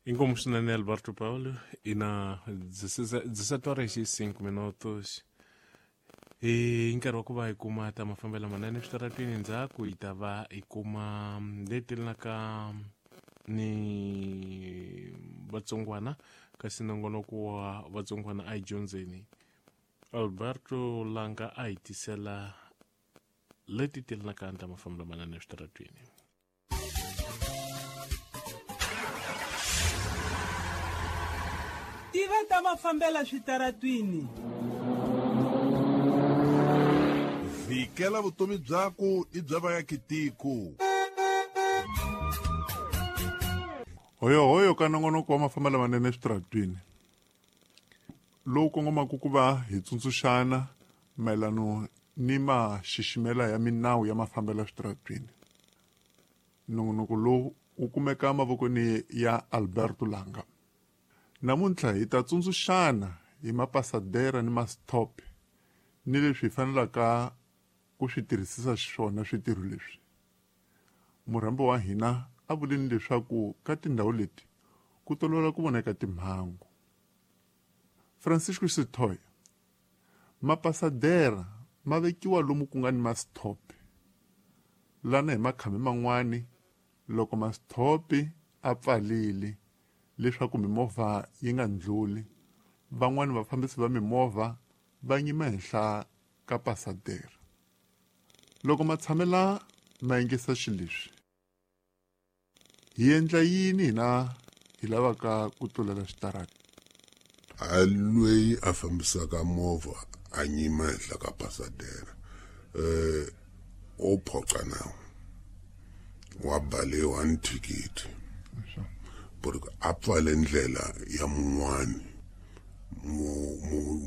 Inkomu swinene Alberto Paulo ina 17 horas e 5 minutos. I nkarhi wa ku va hi kuma ta mafambelo manene eswitarateni, ndzhaku hi ta va hi kuma leti ka ni vatsongwana, kasi nongonoko wa vatsongwana a hi dyondzeni. Alberto Langa a hi tisela leti telanaka ta mafambelo manene eswitarateni. Tiva ta mafambela switaratwini. Vhikela vutomi byaku i bya vaakitiko. Hoyohoyo ka nongonoko wa mafambelo manene eswitaratwini lowu kongomaka ku va hi tsundzuxana mayelano ni maxiximela ya minawu ya mafambelo eswitaratwini. Nongonoko lowu wu kumeka mavokweni ya Alberto Langa. Namuntlha hi ta tsundzuxana hi mapasadera ni mastop ni leswi hi fanelaka ku swi tirhisisa xiswona switirho leswi. Murhambi wa hina a vulini leswaku ka tindhawu leti ku tolovela ku voneka timhangu. Francisco Sithoya, mapasadera ma vekiwa lomu ku nga ni mastop. Lana hi makhambi man'wani loko mastop a pfalile leswaku mimovha yi nga ndluli, van'wani vafambisi va mimovha va nyima henhla ka pasadera. Loko matshamela ma yingisa xileswi, hi endla yini hina hi lavaka ku tlulela xitarata? A loyi a fambisaka movha a nyima henhla ka pasadera o phoqa nawu wa baliwa ni thikithi porque a pfale ndlela ya mun'wani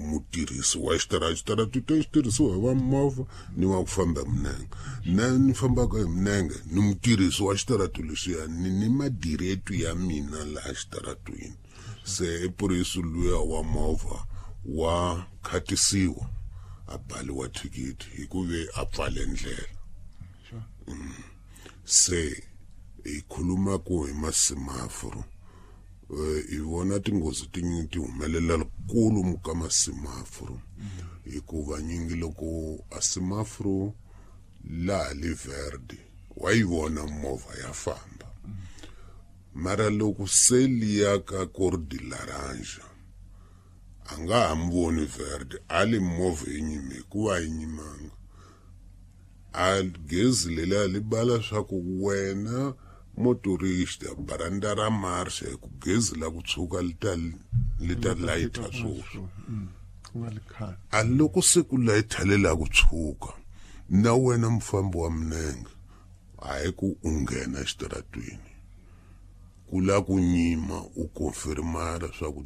mutirhisi wa xitarata. Xitarata to xi tirhisiwa hi va movha ni wa ku famba hi minenge. Na ni fambaka hi minenge ni mutirhisi wa xitarata lexiya ni madireto ya mina laha xitaratweni. Se i purisi luya wa movha wa khatisiwa a baliwa thikithi hikuve a pfale ndlela. Se hi khuluma ku hi masemaforo, hi vona tinghozi tinyingi ti humelela kulu ka masemaforo, hikuva nyingi loko a semaforo laha li verde wa yi vona movha ya famba, mara loko se liya ka cor de laranja a nga ha mi voni verde, a li movha yi nyime hikuva yi nyimanga. A gezi leliya li bala swa ku wena motorista baranda ra marcha hi ku gezi la ku tshuka li ta layita swoswi. A loko se ku layita le la ku tshuka na wena mufambi wa minenge a hi ku u nghena exitaratweni ku la ku nyima u konfirmara swa ku